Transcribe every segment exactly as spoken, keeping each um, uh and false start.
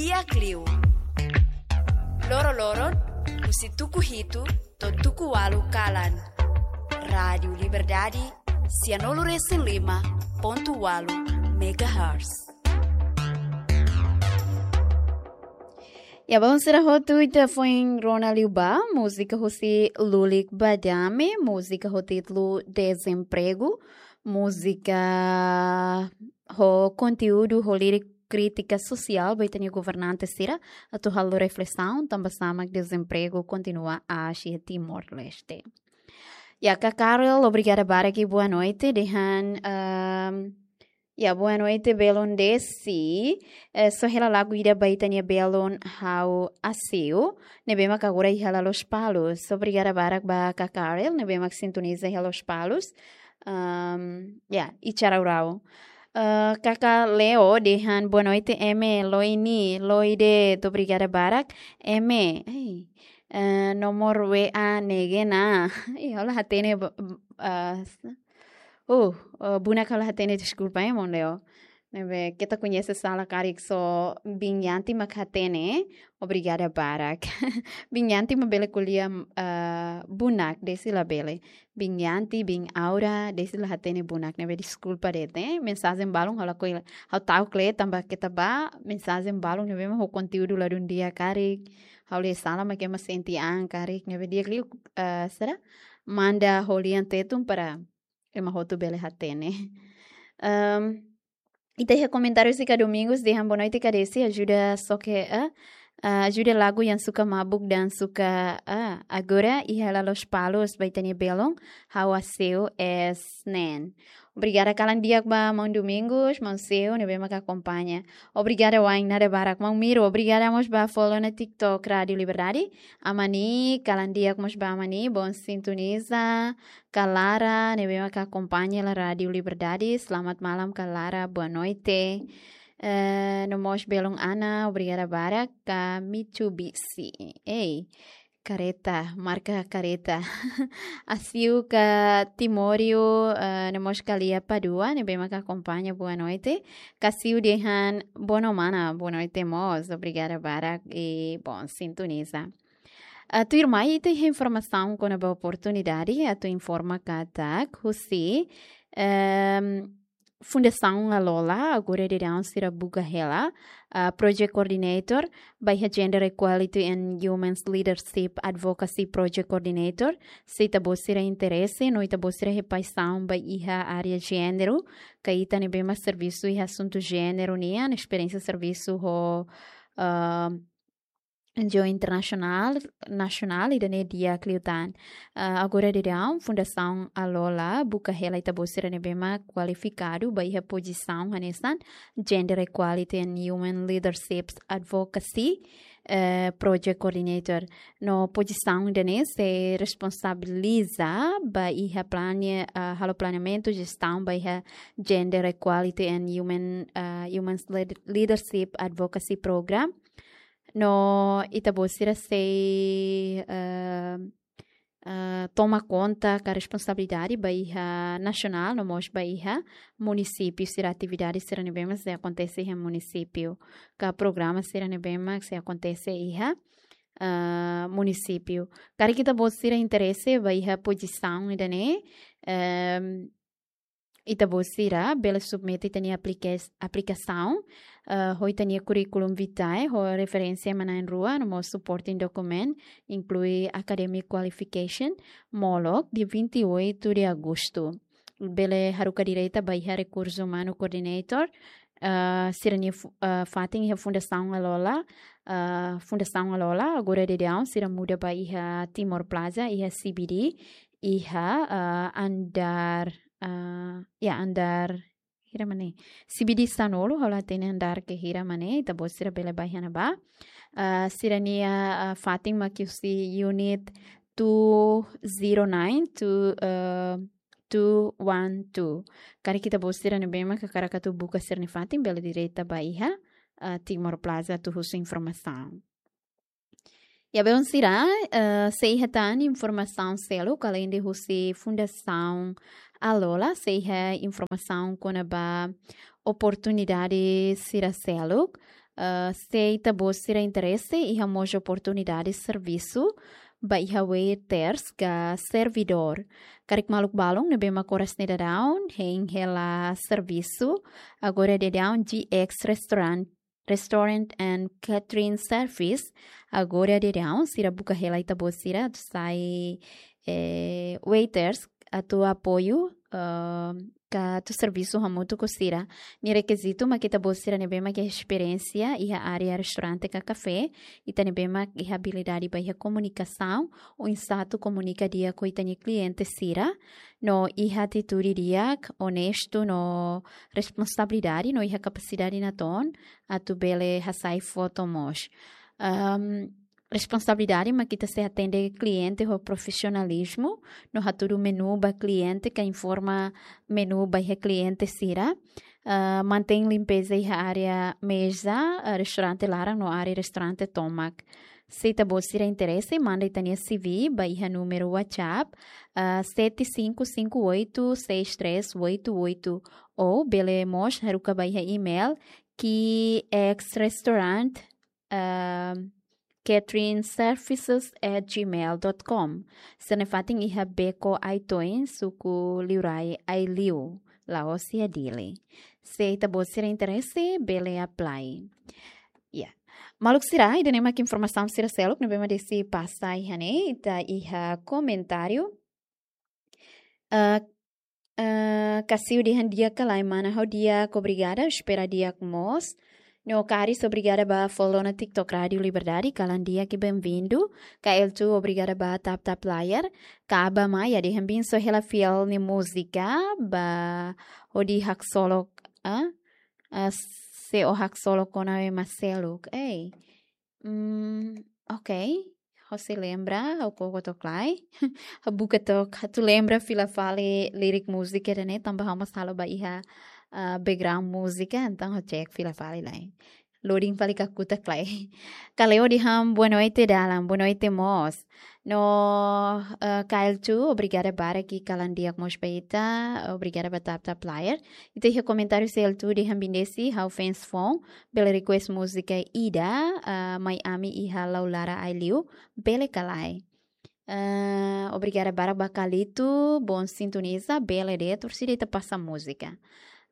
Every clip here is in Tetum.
Di'ak liu. Loroloron, husi tuku hitu to'o tuku ualu kalan. Rádiu Liberdade, sianulu-resin-lima pontu ualu megahertz. Ya, bainhira hotu ita foin rona liu ba múzika husi Lulik Badame, múzika ho títulu Dezempregu, múzika ho konteúdu ho lirik krítika sosiál ba ita-nia governante sira, atu halo reflesaun tanba saida mak dezempregu kontinua aas iha Timor-Leste. Ya, Kak Karel, obrigada barak i boa noite. Dehan, ehm, ya, boa noite, belun Desi. Eh, só hela lagu ida ba ita-nia belun Ha'u Aseu, ne'ebé mak agora iha Lospalos. Obrigada barak ba Kak Karel, ne'ebé mak sintoniza iha Lospalos. Ehm, ya, i Charau-rau. Eh, Kaka Leo dehan, boa noite, ema, loi ni, loi de'it, obrigada barak, ema. Ei, eh, nomor W A ne'e ona. Ih, ha'u la hatene, bo-, ah, s-, uh, eh, bunak ha'u la hatene, deskulpa, eh, maun Leo. Ne'ebé, keta koñese sala karik só Biin Yanti mak hatene, obrigada barak. Biin Yanti mak bele ko'alia, eh, bunak, Desi labele. Biin Yanti, Biin Aura, Desi la hatene bunak, ne'ebé deskulpa de'it, eh. Mensajen balun ha'u lakohi, ha'u ta'uk kle'an tanba keta ba, mensajen balun ne'ebé mak ho konteúdu ladún di'ak karik. Ha'u lee sala mak ema sente an karik, ne'ebé di'ak liu, eh, sira manda ho lian Tetun para ema hotu bele hatene. Ehm, ita iha komentáriu sira Domingos dehan, boa noite, Kak Desi, ajuda só ke, eh, ah, ajuda lagu yang suka mabuk dan suka, ah, agora iha Lospalos ba ita-nia belun, Ha'u Aseu es nen. Obrigada kalan di'ak ba maun Domingos, maun Seu, ne'ebé mak akompaña. Obrigada wa'in, nada barak, maun Miro. Obrigada mós ba follow ona TikTok Rádiu Liberdade. Amani, kalan di'ak mós ba Amani, bom sintoniza. Kak Lara, ne'ebé mak akompaña hela Rádiu Liberdade. Selamat malam, Kak Lara, boa noite. Eh, no mós belun Ana, obrigada barak, Kak Mitsubishi. Ei, kareta, marka kareta. Asiu Kak Timório, eh, no mós Kak Lia Padua, ne'ebé mak akompaña, boa noite. Kak Siu dehan, boa noite, mana, boa noite mós, obrigada barak, i bom sintoniza. Ah, tuirmai, ita iha informasaun kona-ba oportunidade, atu informa katak, husi, ehm, Fundasaun Alola, agora daudaun sira buka hela, ah, Project Coordinator, ba iha Gender Equality and Women's Leadership Advocacy Project Coordinator, se ita-boot sira interese, no ita-boot sira iha paixaun ba iha área jéneru, ka ita ne'ebé mak servisu iha asuntu jéneru nian, esperiénsia servisu ho, ah, N G O internasionál, nasionál, ida-ne'e di'ak liután. Ah, agora daudaun, Fundasaun Alola buka hela ita-boot sira ne'ebé mak kualifikadu ba iha pozisaun hanesan Gender Equality and Women Leadership Advocacy, eh, Project Coordinator. No pozisaun ida-ne'e sei responsabiliza ba iha plane-, ah, halo planeamentu, jestaun ba iha Gender Equality and Women, ah, Women's Lead-, Leadership Advocacy Program. No ita-boot sira sei, eh, eh, toma konta ka responsabilidade ba iha nasionál, no mós ba iha munisípiu sira, atividade sira ne'ebé mak sei akontese iha munisípiu, ka programa sira ne'ebé mak sei akontese iha, eh, munisípiu. Karik ita-boot sira interese ba iha pozisaun ida-ne'e, ehm, ita-boot sira bele submete ita-nia aplikas-, aplikasaun, eh, ho ita-nia curriculum vitae, ho referénsia ema na'in-rua, no mós supporting document, inklui academic qualification, molok dia vinte e oito de agosto. Bele haruka direta ba iha Rekursu Umanu Coordinator, eh, sira-nia fu-, eh, fatin iha Fundasaun Alola, eh, Fundasaun Alola, agora daudaun, sira muda ba iha Timor Plaza, iha C B D, iha, eh, andár, ah, ya, andár hira mak ne'e. C B D sanulu, ha'u la hatene andár ke hira mak ne'e, ita-boot sira bele bá iha ne'ebá. Ah, sira-nia, ah, fatin mak husi unit two zero nine to, eh, two one two. Karik ita-boot sira ne'ebé mak hakarak atu buka sira-nia fatin, bele direta ba iha, ah, Timor Plaza atu husu informasaun. Ya, belun sira, eh, sei iha tan informasaun seluk, aleinde husi Fundasaun Alola, sei iha informasaun kona-ba oportunidade sira seluk, Ah, se ita-boot sira interese, iha mós oportunidade servisu ba iha waiters ka servidór. Karik maluk balun ne'ebé mak oras ne'e daudaun hein hela servisu, agora daudaun G X Restaurant, Restaurant and Catering Service, agora daudaun sira buka hela ita-boot sira atu sai, eh, waiters, atu apoiu, ah, ka atu servisu hamutuk ho sira. Nia rekizitu mak ita-boot sira ne'ebé mak iha esperiénsia iha área restaurante ka kafé, ita ne'ebé mak iha abilidade ba iha komunikasaun, oinsá atu komunika di'ak ho ita-nia kliente sira, no iha atitude di'ak, onestu no responsabilidade, no iha kapasidade natoon atu bele hasai foto mós. Ahm, responsabilidade mak ita sei atende kliente ho profisionalizmu, no hatudu menu ba kliente, ka informa menu ba iha kliente sira. Ah, mantein limpeza iha área meza, ah, restaurante laran no área restaurante tomak. Se ita-boot sira interese, manda ita-nia C V ba iha númeru WhatsApp, ah, sete cinco cinco oito seis três oito oito, ou bele mós haruka ba iha email, G X Restaurant, ah, catering services at gmail dot com. Sira-ne'e fatin iha Beco Aitoin, suku Liurai Aileu, Laos iha Dili. Se ita-boot sira interese, bele apply. Ya. Maluk sira, ida-ne'e mak informasaun sira seluk ne'ebé mak desi pasa iha ne'e, ita iha komentáriu. Ah, ah, Kasiu dehan di'ak ka lae mana, ha'u di'ak, obrigada, espera di'ak mós. No Karis, obrigada ba follow ona TikTok Rádio Liberdade, kalan di'ak i bem-vindu. Kael tu, obrigada ba tap tap layar. Kaba Maia dehan bensa hela fiel nia múzika, ba hodi haksolok, ah? Ah, se ó haksolok kona-ba ema seluk. Ei. Hmm, ok. Ha'u sei lembra, ha'u koko took lai. Ha'u buka took, atu lembra fila fali lirik múzika ida-ne'e, tanba ha'u mós halo ba iha, ah, background múzika, entaun ha'u check fila fali lai. Loading fali kakutak lai. Kaleo dehan boa noite dalan, boa noite mós. No, ah, Kael tu, obrigada barak i kalan di'ak mós ba ita, obrigada ba tap tap layar. Ita iha komentáriu Sel tu dehan bendesi, ha'u fans foun, bele request múzika ida, ah, Mai Ami iha Laulara Aileu, bele ka lae. Ah, obrigada barak ba Kalito, bom sintoniza, bele de'it, orsida ita pasa múzika.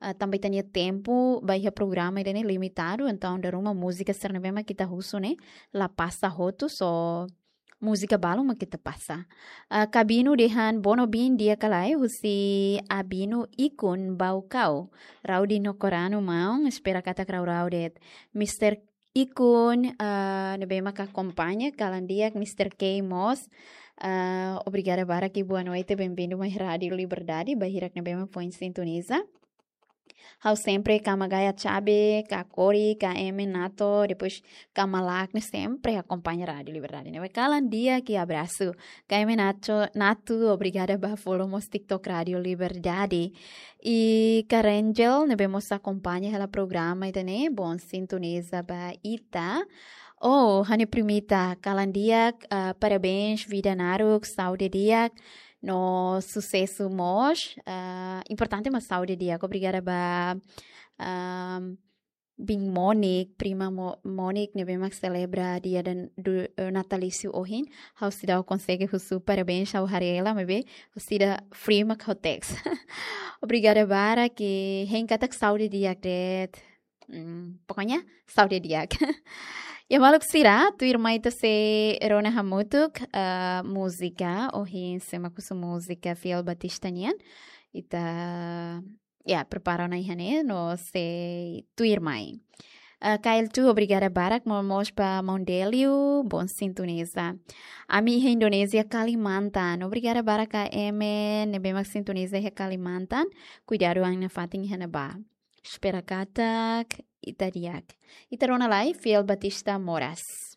Ah, tanba ita-nia tempu ba iha programa ida-ne'e limitadu, entaun dala ruma múzika sira ne'ebé mak ita husu ne'e la pasa hotu, só múzika balun mak ita pasa. Ah, Kabinu dehan bono bin di'ak ka lae, husi Abinu Ikun Baucau. Raudi no Koranu maun, espera katak rau-rau de'it. Mister Ikun, ah, ne'ebé mak akompaña, kalan di'ak, Mister K mós. Ah, obrigada barak i boa noite, bem-vindu mai Rádio Liberdade, ba hirak ne'ebé mak foin sintoniza. Ha'u sempre kama gaya Chabe, ka Kori, ka Eme Nato, depois kama Lakne, sempre akompaña Rádio Liberdade, ne'ebé kalan di'ak i abrasu. Ka Eme Nato, Nato, obrigada ba follow mós TikTok Rádio Liberdade. I ka Rangel, ne'ebé mós akompaña hela programa ida-ne'e, bom sintoniza ba ita. Oh, ha'u-nia primita, kalan di'ak, ah, parabéns, vida naruk, saúde di'ak, no susesu mós. Ah, importante mak saúde di'ak. Obrigada ba, ah, bin Monique, prima Mo-, Monique, ne'ebé mak selebra dia dan du-, eh, natalísiu ohin. Ha'u seidauk konsege husu parabéns, ha'u haree hela, maibé ha'u seidauk free mak ha'u text. Obrigada barak, i hein katak saúde di'ak de'it. Hmm, pokoknya, saúde di'ak. Ya, maluk sira, tuirmai ita sei rona hamutuk, eh, múzika, ohin sé mak husu múzika Fiel Batista nian. Ita, ya, prepara ona iha ne'e, no sei tuirmai. Eh, Kael tu, obrigada barak, mo-, mós ba Maun Delio, bom sintoniza. Ami iha Indonézia, Kalimantan. Obrigada barak ka Eme, ne'ebé mak sintoniza iha Kalimantan. Kuidadu an nafatin iha ne'ebá. Espera katak ita di'ak. Ita rona lai, Fiel Batista Moras.